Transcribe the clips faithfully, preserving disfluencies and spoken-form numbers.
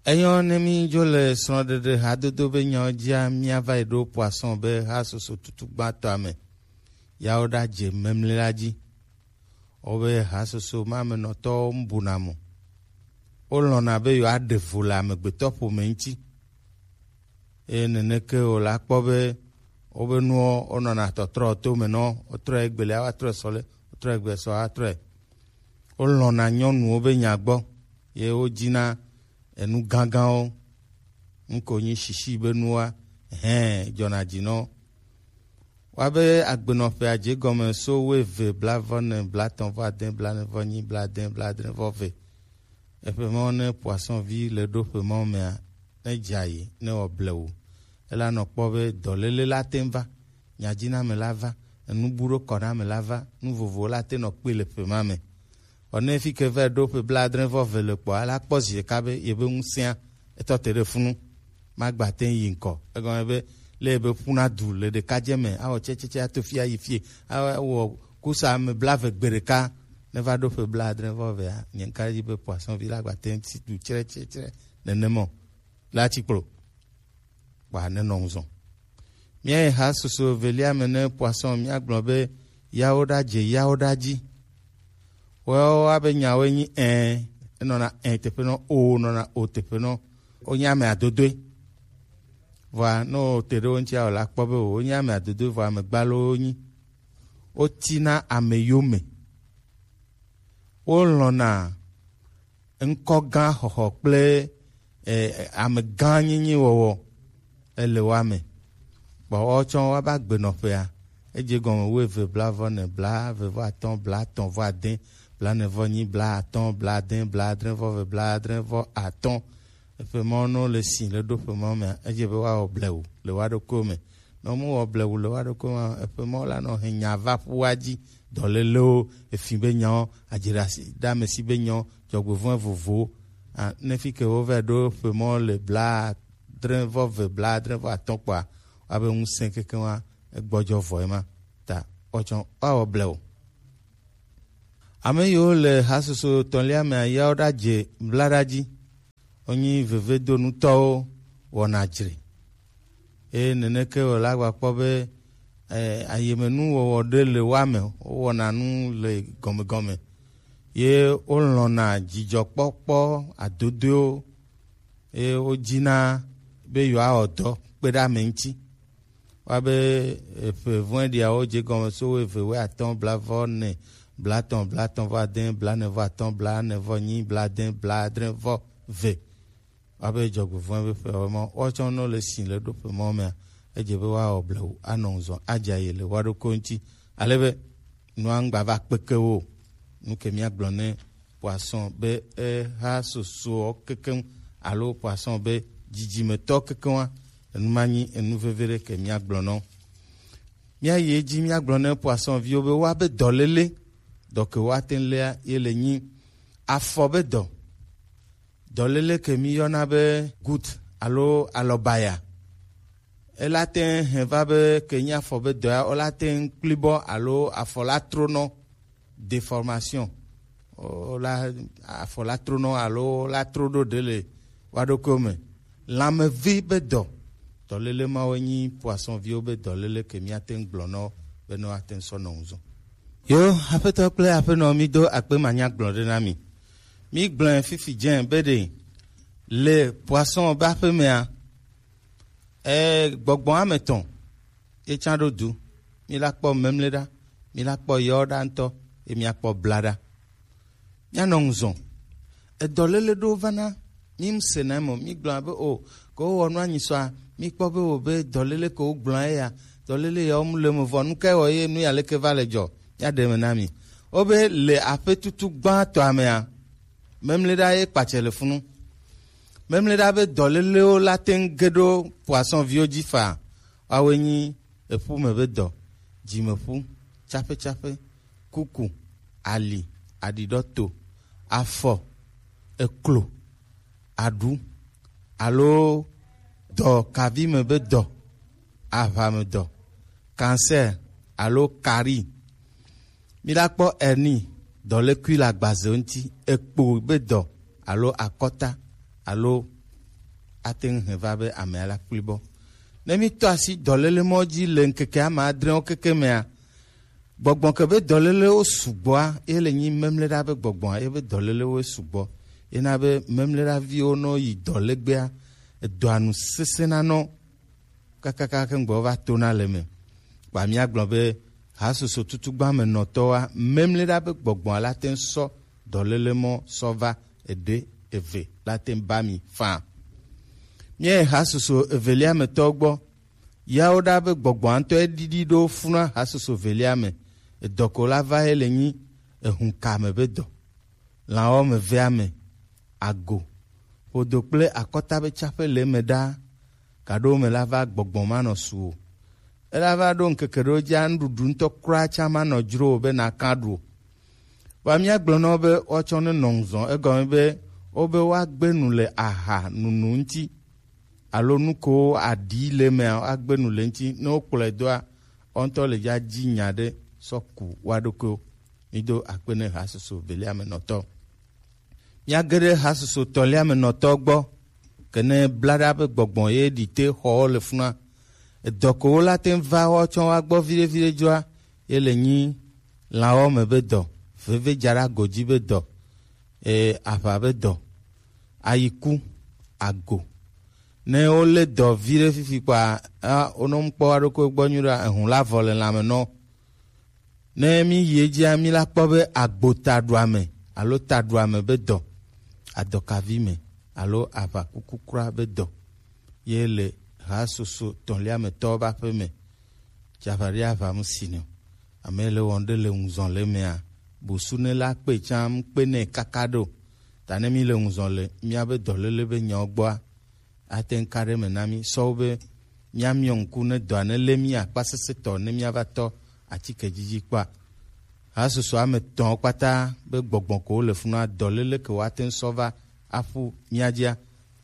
Enyɔ ne mi dzo le srɔ̃ɖeɖe hadodo be nyawo dzia, míava yi ɖo poisson be ha soso tutu gbãtɔa me. Yawo ɖa dze memle la dzi. Wobe ha soso ma me nɔtɔwo mbuna mo. Wolɔ̃na be yewoaɖe vo le amegbetɔ ƒome ŋuti. Eye neneke wòle akpɔ be wobe nuwo wonɔna tɔtrɔ to me nɔ, wotrɔe egbelia woatrɔe sɔ le, wotrɔe egbe sɔ atrɔe. Wolɔ̃na nyɔnuwo be nya gbɔ, ye wodina enu gãgãwo. Ŋko nyi shishi be nuwa, hɛn, dzɔna dzi nɔ. Woabe agbenɔƒea dze gɔme so wuieve, blaeve, ne, blaetɔ̃ vɔ ade, blaene vɔ enyi, blaade, blaadre vɔ eve. Eƒe mawo ne poisson vi le ɖo ƒe mawo mea, ne dza yi, ne wɔ blewu. Ela nɔ kpɔ be dɔléle la te va, nyadziname la va, enubuɖokɔname la va, nu vovovowo la te nɔ kpɔe le ƒe ma me. Vɔ ne fi ke va ɖo ƒe blaadre vɔ eve le kpɔa, la kpɔ zi ɖeka be yebe ŋusẽa etɔ te ɖe funu. Magbate yi ŋkɔ. Egɔme be le yebe ƒuna du le ɖekadze me, awɔ tsɛtsɛtsɛ ato fia yi fie, awɔ kusa ame blaeve gbe ɖeka, ne va ɖo ƒe blaadre vɔ evea, nye ŋka dzi be poisson vi la gbate ŋuti du tsrɛtsrɛtsrɛ nenema o. La tsi kplo. Kpa nenɔ ŋu zɔ. Míayi ha susu evelia me ne poisson míagblɔ be yawo ɖa dze yawo ɖa dzi. Woawo abe nyawoe nyi ɛ, enɔna ɛ teƒe nɔ, o nɔna o teƒe nɔ. Wonye ame adodoe. Vɔa ne wote ɖe wo ŋuti awɔ la kpɔ be wonye ame adodoe vɔ ame gbalo wonyi. Wotina ame yome. Wolɔ̃na ŋkɔ gã xɔxɔ kple, eh, ame gã nyinyi wɔwɔ ele wa me. Kpɔ woatsɔ woaba gbenɔƒea. Edze gɔme wuieve, blaeve, ne, blaeve vɔ atɔ̃, blaetɔ̃ vɔ ade, blaene vɔ enyi, blaatɔ̃, blaade, blaadre vɔ eve, blaadre vɔ atɔ̃. Eƒe mawo ne wole si le ɖo ƒe mawo mea, edze be woawɔ blewu le woa ɖokuiwo me. Ne womewɔ blewu le woa ɖokuiwo me o, eƒe mawo la nɔ he nya va ƒua dzi, dɔlélewo, efi be nyawo, adziɖasi ɖe ame si be nyawo, dzɔgbevɔ̃e vovowo. A, ne fi ke wova ɖo ƒe mawo le blaadre vɔ eve, blaadre vɔ atɔ̃ kpɔa, woabe ŋusẽ kekeŋ wa egbɔdzɔ vɔ ema. Ta woatsɔ woawɔ blewu. Ame yiwo le hasusu etɔ̃lia mea, yawo ɖadze blaɖa dzi. Wonyi vevedonutɔwo wɔna dzre. Eye neneke wòle agbakpɔ be, eh, ayemenuwɔwɔ ɖe le woa me, wowɔna nu le gɔmegɔme. Ye wolɔ̃na dzidzɔkpɔkpɔ adodoewo, eye wodina be yewoawɔ dɔ kpe ɖe ame ŋuti. Woabe, eh, ƒe vɔ̃ɖiawo dze gɔme so wuieve, wuiatɔ̃, blaeve, ne, blaetɔ̃, blaetɔ̃ vɔ ade, blaene vɔ atɔ̃, blaene vɔ enyi, blaade, blaadre vɔ eve. Woabe dzɔgbevɔ̃e be ƒe ma, woatsɔ ne wole si le ɖo ƒe ma mea, edze be woawɔ blewu, anɔ ŋu zɔ, adze ayi le woa ɖokui ŋuti. Ale be nua ŋgba va kpeke wo o. Nu ke míagblɔ ne poisson be eha sosoɔ kekeŋ alo poisson be dzidzimetɔ kekeŋ wa, enu ma nyi enu veve ɖe ke míagblɔ nɔ. Míayi edzi míagblɔ ne poisson viwo be woabe dɔléle, dɔ ke woate ŋu léa ye le nyi afɔ be dɔ. Dɔléle ke míyɔna be goutte alo alɔbaya. Ela te ŋu hɛn va be ke nyi afɔ be dɔ ya, wola te ŋu kpli bɔ alo afɔ la tronɔ, déformation. Wola, afɔ la tronɔ alo la tro ɖo ɖe le woa ɖokuiwo me. Lãmevi be dɔ. Dɔléle mawo nyi poisson viwo be dɔléle ke míate ŋu gblɔ nɔ wo be ne woate ŋu sɔ nɔ ŋu zɔ. Yo, aƒetɔ kple aƒenɔ, mído akpe manyagblɔ ɖe na mi. Mígblɔe fifi dze be ɖe le poisson be aƒe mea, eh, gbɔgbɔ ame etɔ̃ ye tsã ɖo du. Míla kpɔ memle ɖa, míla kpɔ yɔ ɖa ŋutɔ, ye míakpɔ bla ɖa. Míanɔ ŋu zɔ. Edɔléle ɖewo vana, mímsena eme o, mígblɔna be o, ke wowɔ nu anyi sɔa, míkpɔ be wòbe dɔléle ke wogblɔa eya, dɔléle ya womle eme vɔ, nu kae wɔ ye nu ya leke va le dzɔ? Míaɖe eme na mi. Wobe le aƒe tutu gbãtɔa mea, memleɖa ye kpatsɛ le funu. Memleɖa be dɔlélewo la te ŋu ge ɖo poisson viwo dzi faa. Woawoe nyi eƒu me be dɔ, dzimeƒu, tsaƒetsaƒe, kuku, ali, aɖiɖɔto, afɔ, eklo, aɖu, alo dɔ kavi me be dɔ, aʋamedɔ, cancer alo carie. Míla kpɔ hernie, dɔlékui le agbaze ŋuti, ekpo be dɔ alo akɔta alo ate ŋu hɛn va be amea la kpli bɔ. Ne mi tɔ asi dɔlele mɔ dzi le ŋkeke ame adrewo keke mea, gbɔgbɔ ke be dɔlelewo sugbɔa, ye le nyi memleɖa be gbɔgbɔa, ye be dɔlelewo sugbɔ. Ye na be memleɖaviwo nɔ yi dɔ legbea, edɔa nu sesẽ na nɔ kakaka ke ŋgbɔ va to na le me. Kpa mía gblɔ be hasoso tutugba me nɔtɔwoa, memleɖa be gbɔgbɔa la te ŋu sɔ dɔlele mɔ sɔ va eɖe eve la te ŋu ba mi faa. Míayi hasoso evelia me tɔ gbɔ. Yawo ɖa be gbɔgbɔa ŋutɔ eɖiɖi ɖo funa hasoso evelia me. Edɔ ko la va ye le nyi ehun ka me be dɔ. Lãwo me vea me, ago, ƒodo kple akɔta be tsaƒe le eme ɖaa, gaɖo me la va gbɔgbɔ manɔ su o. Ela va ɖo ŋkeke ɖewo dzi nuɖuɖu ŋutɔ kura tsã manɔ dzro o be naka ɖu o. Vɔa míagblɔ na wo be woatsɔ ne nɔ ŋuzɔ, egɔme be wobe woagbe nu le aha nunu ŋuti alo nu ko aɖi le emea, woagbe nu le ŋuti. Ne wokplɔe doa, wo ŋutɔ le dza dzi nya ɖe sɔ ku woa ɖokuiwo. Mido akpe ne hasoso velia me nɔtɔ. Míage ɖe hasoso tɔlia me nɔtɔ gbɔ. Kene blaɖa be gbɔgbɔ ye ɖi te xɔwo le funa. Edɔ ko wo la te ŋu va woatsɔ woagbɔ viɖe viɖe dzroa, ye le nyi lãwo me be dɔ, veve dza ɖe ago dzi be dɔ, e, aʋa be dɔ, ayiku, ago. Ne wolé dɔ viɖe fifi kpɔa, a, wonɔ ŋkpɔ woaɖokui gbɔ nyuie ɖoa, ehun la vɔ le lãme nɔ. Ne mi yi edzia, mi la kpɔ be agbotaɖuame alo taɖuame be dɔ, adɔkavi me alo aʋakuku kura be dɔ, ye le hasoso tɔ̃lia me tɔwo be aƒe me. Tsaƒa ɖe aʋa mu si nɛ o. Ame le wɔn ɖe le ŋuzɔn le mea, bosu ne la kpe tsã mu kpe nɛ kaka ɖo. Ta ne mi le ŋuzɔn le miabe dɔléle be nyawo gbɔa, ate ŋu ka ɖe eme na mí sɔwu be míamiɔ ŋku ne dɔa nelé mí akpasesẽtɔ ne míava tɔ atike dzidzi kpɔa. Hasoso ame etɔ̃ kpata be gbɔgbɔ ko wole funua, dɔléle ke woate ŋu sɔ va aƒu mía dzia,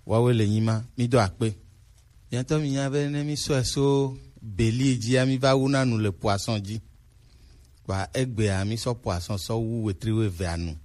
woawoe le nyi ma. Mído akpe. Mía ŋutɔ mínya be ne mísɔe so beli dzia, míva wuna nu le poisson dzi. Kpa egbea mísɔ poisson sɔ wu wetri wuievea nu.